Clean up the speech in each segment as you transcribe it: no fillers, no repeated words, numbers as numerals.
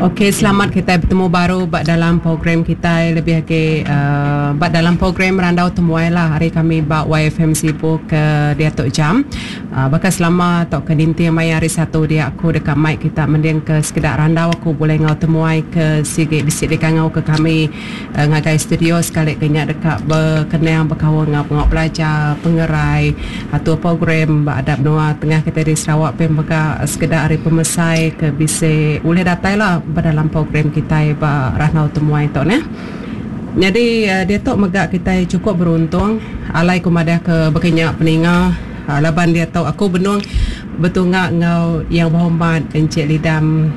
Ok selamat kitai betemu baru ba dalam program kitai lebih agi uhh ba dalam program randau temuai lah ari kami ba YFM Sibu ke diatu jam. Uhh baka selama tauka ninting maya hari Satu dia aku deka mai kita mending ke sekeda randau aku bulih enggau temuai ke sigi bisi dikangau ke kami ngagai studio sekali ke nya deka bekenang bekaul enggau pengawa pelajar, pengerai, atur program ba adap menua tengah kitai di Sarawak pia mega sekeda ari pemesai ke bisi ulih datai la ba dalam program kitai ba Randau Temuai tu neh. Nyadi diatu mega kitai chukup beruntung alai ku madah ke baka nya peninga laban diatu aku benung betunga enggau Yang Berhormat Encik Lidam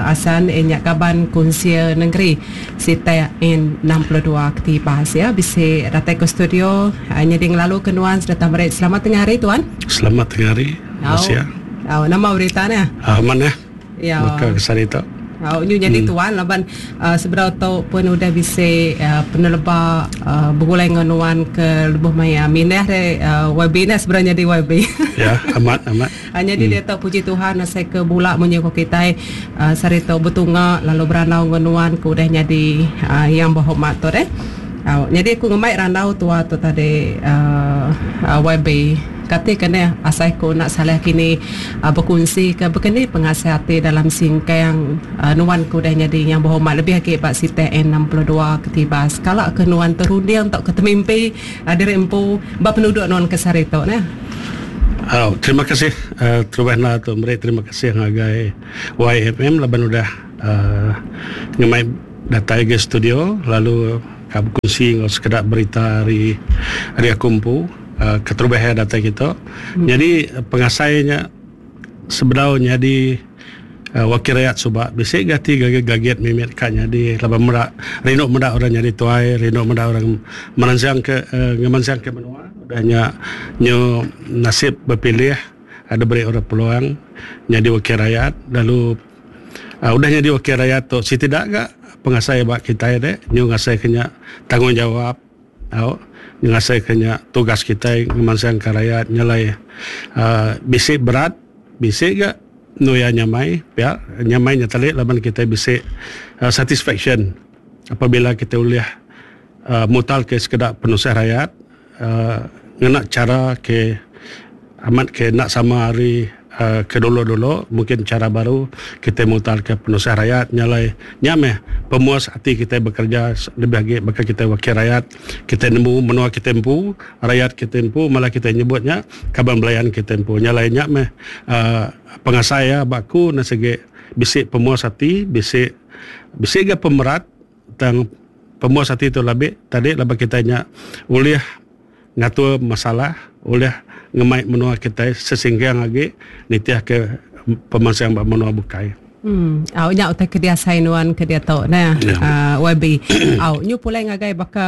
Assan iya nya kaban Kunsil Nengeri Sitak N 62 Ketibas ya bisi datai ke studio nyadi ngelalu ke nuan sereta meri selamat tengah hari tuan. Selamat tengah hari Masia. Au nama berita neh? Ah manah. Ya. Baka ke sehari tu. Au nyu nyadi tuan laban sebedau tu pun udah bisi peneleba begulai enggau nuan ke lebuh maya mindah deh YB neh sebedau nyadi YB. Ya amat amat. Nyadi diatu puji Tuhan asai ke bula munyi ko kitai sehari tu betunga lalu berandau enggau nuan ke udah nyadi Yang Berhormat tu deh. Nyadi aku ngemai randau tua tu tadi YB kati ke neh asai ku enda salah kini bekunsi ke bekeni pengasih ati dalam singkang nuan ke udah nyadi Yang Berhormat lebih agi ba sitak N 62 Ketibas. Kala ke nuan terunding tauka temimpi diri empu ba penuduk nuan ke sehari tu neh. Au terima kasih terubah enda tu meri terima kasih ngagai YFM laban udah uhh ngemai datai ga studio lalu ka bekunsi enggau sekeda berita ari ari aku empu uhh keterubah iya datai kitu. Nyadi pengasai nya sebedau nyadi wakil rayat suba bisi ga ati gagit gagit mimit ka nyadi laban meda rindu meda orang nyadi tuai rindu meda orang meransang ke ngemansang ke menua udah nya nyu nasib bepilih ada beri orang peluang nyadi wakil rayat lalu udah nyadi wakil rayat tu siti da ga pengasai ba kitai de nyu ngasai ke nya tanggungjawab. Au, ngasaika nya tugas kitai ngemansangka rayat nyelai uhh bisi berat bisi ga enu iya nyamai pia nyamai nya tali laban kitai bisi satisfaction apabila kitai ulih uhh mutarka sekeda penusah rayat uhh ngena chara ke Amat ke enda sama ari ke dulu-dulu mungkin chara baru kitai mutarka penusah rayat nya alai nya meh pemuas ati kitai bekereja lebih agi baka kitai wakil rayat kitai nemu menua kitai empu rayat kitai empu malah kitai nyebut nya kaban belayan kitai empu nya alai nya meh uhh pengasai iya ba aku ne sigi bisi pemuas ati bisi bisi ga pemerat tang pemuas ati tu labih tadi laban kitai nya ulih ngatur masalah ulih ngemai menua kitai sesingkang agi nitihka pemansang ba menua bukai. Em au nya utai ke diasai nuan ke diatu neh uhh YB. Au nyu pulai ngagai baka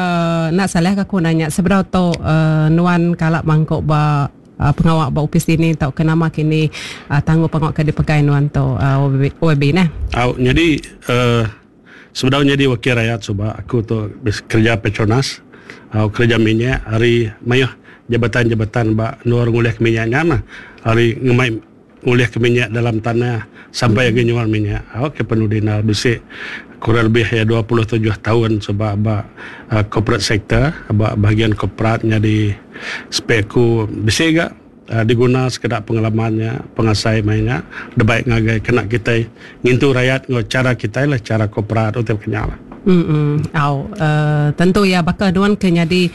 enda salah ka aku nanya sebedau tu uhh nuan kala mangku ba pengawa ba opis dini tauka nama kini uhh tanggung pengawa ke dipegai nuan tu uhh YB neh. Au nyadi uhh Sebedau nyadi wakil rayat suba aku tu kereja Petronas au kereja minyak ari mayuh jabatan-jabatan ba endur ngulihka minyak nya mah ari ngemai ngulihka minyak dalam tanah sampai agi nyual minyak au ke penudi enda bisi kurang lebih iya 27 taun suba ba corporate sector ba bahagian korporat nyadi speku bisi ga. Diguna sekeda pengalaman nya, pengasai maya nya debai ngagai kena kitai ngintu rayat enggau chara kitai lah, chara korporat utai baka nya lah. Em au tentu iya baka nuan ke nyadi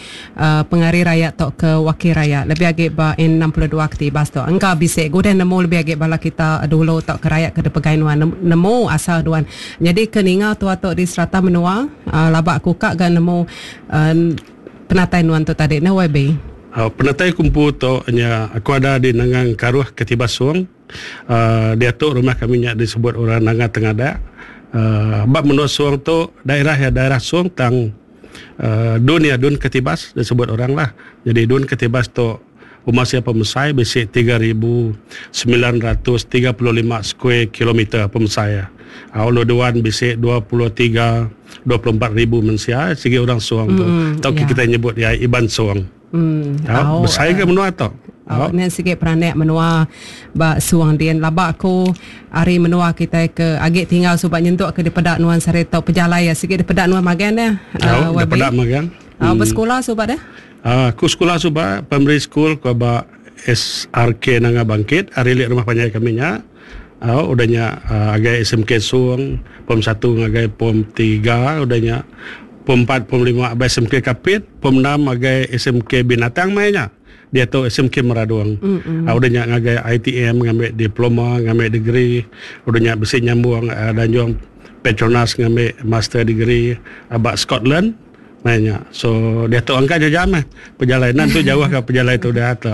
pengari rayat tauka wakil rayat lebih agi ba N 62 Ketibas tu engka bisi udah nemu lebih agi bala kita dulu tauka rayat ke dipegai nuan nemu asal nuan nyadi ke ninga tua tu di serata menua laba ku ka ga nemu penatai nuan tu tadi neh YB. Penatai aku empu tu nya aku ada di Nanga Engkaruh Ketibas Song. Diatu rumah kami nya disebut orang Nanga Tengadak. Ba menua Song tu daerah iya daerah Song tang dun iya dun Ketibas disebut orang lah. Jadi dun Ketibas tu uma sia pemesai bisi 3935 square kilometer pemesai iya. Ulu Duan bisi 23 24 ribu mensia sigi orang Song tu. Tauka kitai nyebut iya Iban Song. Tau besai ga menua tu. Oh. Nya sigi peranak menua ba Suang din. Laba aku ari menua kitai ke agi tinggal suba nyentuk ke dipeda nuan sehari tu pejalai iya sigi dipeda nuan magang deh. Oh, dipeda magang. Oh, besekula suba deh. Uh, aku sekula suba primary school ko ba SRK Nanga Bangkit ari lik rumah panjai kami nya. Oh, udah nya uh, agai SMK Sung pom 1 ngagai pom 3 udah nya pom 4 pom 5 abai SMK Kapit pom 6 agai SMK Binatang mai nya. Diatu SMK Meradong. Mm-hmm. Udah nya ngagai ITM ngambi diploma, ngambi degree. Udah nya bisi nyambung uh, danjung Petronas ngambi master degree aba Scotland. Mai nya. So diatu angka jam eh pejalai nan tu jauh ka pejalai tu dah tu.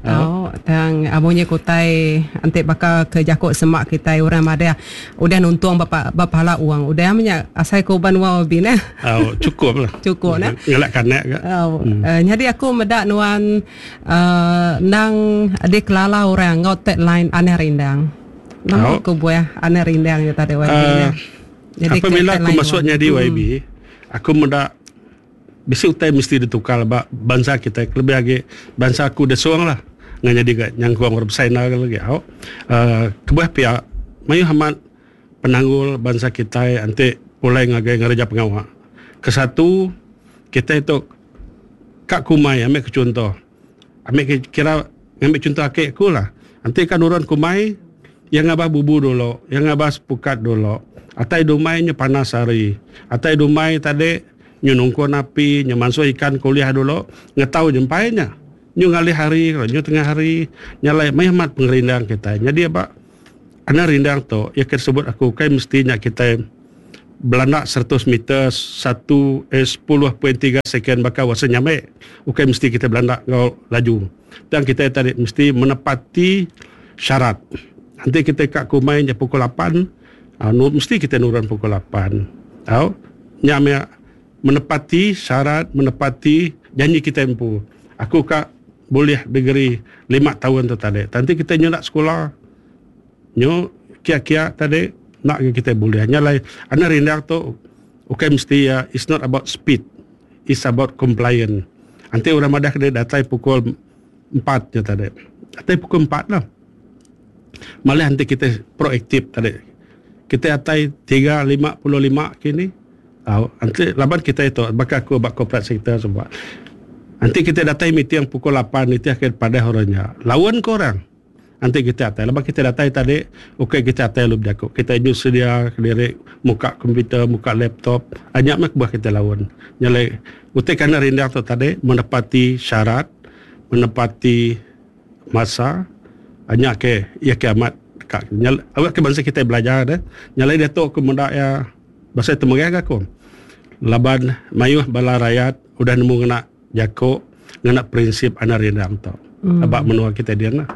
Oh, tang amunyi kutai enti baka ke jaku semak kitai orang madah udah nuntung ba ba pala uang udah menya asai ku uban wau bi neh. Oh, cukup lah. Cukup neh. Ngelak kanak ga. Oh, hmm. Uh, nyadi aku meda nuan uh, nang dikelala orang enggau tagline aneh rindang. Nama oh. ku buah aneh rindang ya tadi YB uh, Jadi apabila aku masuk nyadi YB, aku meda Bisi utai mesti ditukar ba bansa kitai kelebih agi bansa aku Desong lah ngan nyadi ga nyangkung orang besai enda lagi au. Uhh kebuah pia mayuh amat penanggul bansa kitai enti pulai ngagai ngereja pengawa. Kesatu kitai tu ka kumai ambi ke chunto ambi ke kira ngambi chunto aki aku lah enti ka nurun kumai iya ngabah bubu dulu iya ngabah sepukat dulu atai dumai nya panas hari atai dumai tadi Nyu nungkun api, nyu mansuh ikan ke ulih dulu, ngetau nyempai nya. Nyu ngalih hari, nyu tengah hari, nya alai mayuh amat pengerindang kitai. Nyadi aba anang rindang tu, iya ke disebut aku ukai mesti nya kitai belanda seratus meter satu eh 10.3 second baka Watson Nyambe. Ukai mesti kitai belanda enggau laju. Tang kitai tadi mesti menepati syarat. Enti kitai ka kumai nya pukul lapan, mesti kitai nurun pukul lapan. Au. Nya meh menepati syarat menepati janji kitai empu. Aku ka bulih degree lima taun tu tadi. Tang enti kitai nyunak sekula nyu kia-kia tadi enda ga kitai bulih. Nya alai anak rindang tu ukai mesti iya it's not about speed it's about compliance. Enti orang madah ke datai pukul empat nya tadi. Datai pukul empat lah. Malih enti kitai proaktif tadi. Kitai atai 3.55 kini au enti laban kitai tu baka aku ba corporate sector suba. Enti kitai datai meeting pukul lapan nitih ke padah orang nya laun ke orang. Enti kitai atai laban kitai datai tadi ukai kitai atai lalu bejaku. Kitai nyu sedia kediri muka komputer muka laptop nya meh kebuah kitai laun. Nya alai utai ke enda rindang tu tadi menepati syarat menepati Masa nya ke iya ke amat ka awak ke bansa kitai belajar deh. Nya alai diatu aku meda iya pasal temegah ga aku laban mayuh bala rayat udah nemu ngena jaku ngena prinsip anak rindang tu aba menua kitai din lah.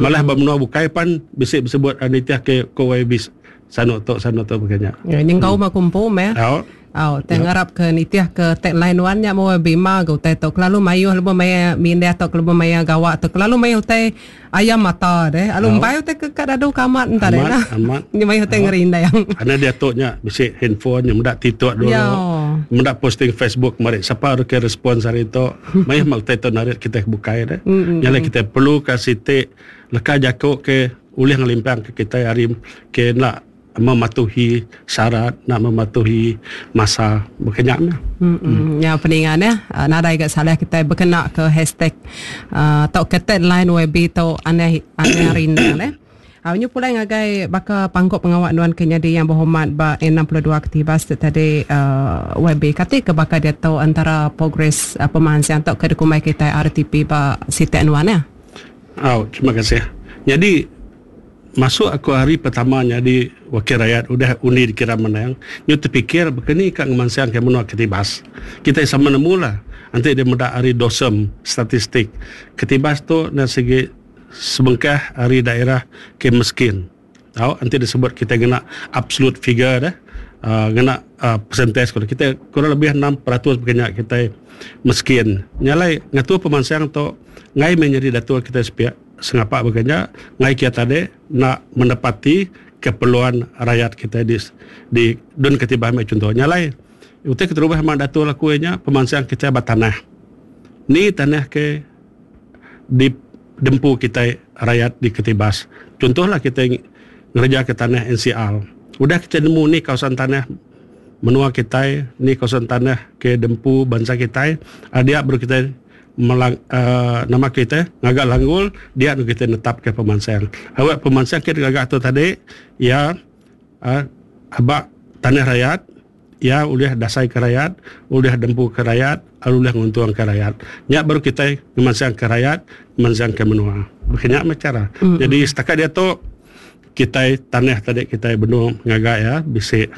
Malah ba menua bukai pan bisi besebut nitih ke ko YB sanu tu sanu tu baka nya. Nyengkaum aku empu meh. Au. Au, tang ngarap ke nitih ke tagline nuan nya meh bima ga utai tu kelalu mayuh lebuh maya mindah tauka lebuh maya gawa tu kelalu mayuh utai ayam mata deh alu empai utai ke ka dadu ke amat enta deh nah. Amat. Nya mayuh utai ngerindang. Anak diatu nya bisi handphone nya meda titok dulu. Meda posting Facebook meri sapa ke respons hari tu mayuh meh utai tu narit kitai ke bukai deh. Nya alai kitai perlu ka siti leka jaku ke ulih ngelimpang ke kitai ari ke enda mematuhi syarat nak mematuhi masa baka nya meh. Hmm. Nya peninga neh nadai ga salah kitai bekena ke hashtag uh, tauka tagline YB tu aneh aneh rindang neh. Uh, nyu pulai ngagai baka pangkuk pengawa nuan ke nyadi yang berhormat ba N62 Ketibas tu tadi uh, YB kati ke baka diatu antara progres uh, pemansang tauka dikumbai kitai RTP ba sitak nuan neh. Au, terima kasih. Nyadi Masuk aku hari pertama nyadi wakil rayat udah undi dikira menang, nyu tepikir baka ni ka ngemansangka menua Ketibas. Kitai sama nemu lah enti deh meda ari dosem statistik Ketibas tu enda sigi sebengkah ari daerah ke meskin. Tau enti disebut kitai ngena absolute figure deh uhh ngena uhh percentage ku kitai kurang lebih 6% baka nya kitai meskin. Nya alai ngatur pemansang tu enggai meh nyadi datur kitai sepiak. Sengapa baka nya, enggai kia tadi enda menepati keperluan rayat kitai di di Dun Ketibah meh chunto. Nya alai utai keterubah amat datur aku iya nya pemansang kitai ba tanah. Ni tanah ke di. dempu kitai rayat di Ketibas. Chuntohlah kitai ngereja ke tanah NCR. Udah kitai nemu ni kawasan tanah menua kitai, ni kawasan tanah ke dempu bansa kitai, dia baru kitai melang uhh nama kitai ngaga langgul dia nu kitai netapka pemansang. Awak pemansang ke digaga tu tadi iya uhh aba tanah rayat. Iya ulih dasai ke rayat, ulih dempu ke rayat, lalu ulih nguntung ke rayat. Nya baru kitai ngemansang ke rayat, ngemansang ke menua. Baka nya meh chara. Mm-hmm. Jadi setakat diatu kitai tanah tadi kitai benung ngaga iya bisi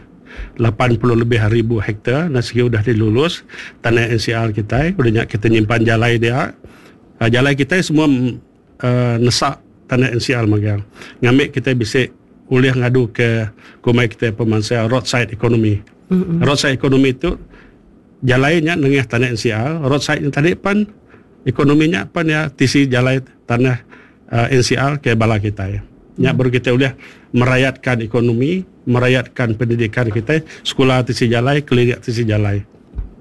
80 lebih ribu hektar dan sigi udah dilulus tanah NCR kitai. Udah nya kita nyimpan jalai dia. Ah, jalai kitai semua uh, nesak tanah NCR magang. Ngambi kitai bisi ulih ngadu ke kumbai kitai pemansang roadside economy. Mm-hmm. Roadside economy tu jalai nya nengah tanah NCR, roadside nya tadi pan ekonomi nya pan ya tisi jalai tanah uh, NCR ke bala kitai. Nya mm. baru kita ulih merayatkan ekonomi, merayatkan pendidikan kita, sekolah tisi jalai, klinik tisi jalai.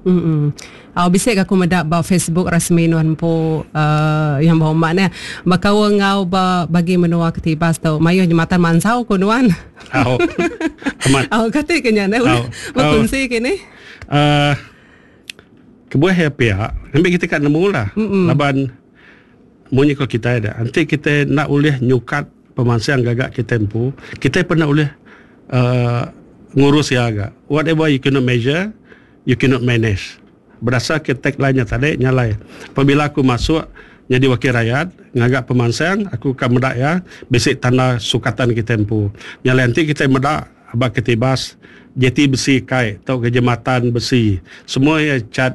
Mm. Au bisi ga aku meda ba Facebook rasmi nuan empu uh, yang berhormat ne. Bekaul enggau ba bagi menua Ketibas tu mayuh jematan mansau ku nuan. Au. Amat. Au kati ke nya ne ulih bekunsi ke ni. Uh, kebuah ya pia, ngambi kita ka nemu lah. Mm-mm. Laban munyi ko kitai da, enti kita enda ulih nyukat pemansang gaga kita empu, kita pun enda ulih uh, ngurus iya ga. Whatever you cannot measure, you cannot manage. Berdasar ke tagline nya tadi nya alai apabila aku masuk nyadi wakil rakyat ngaga pemansang aku ka meda iya bisi tanda sukatan kitai empu. Nya alai enti kitai meda ba Ketibas jeti besi kai tauka jematan besi semua iya cat.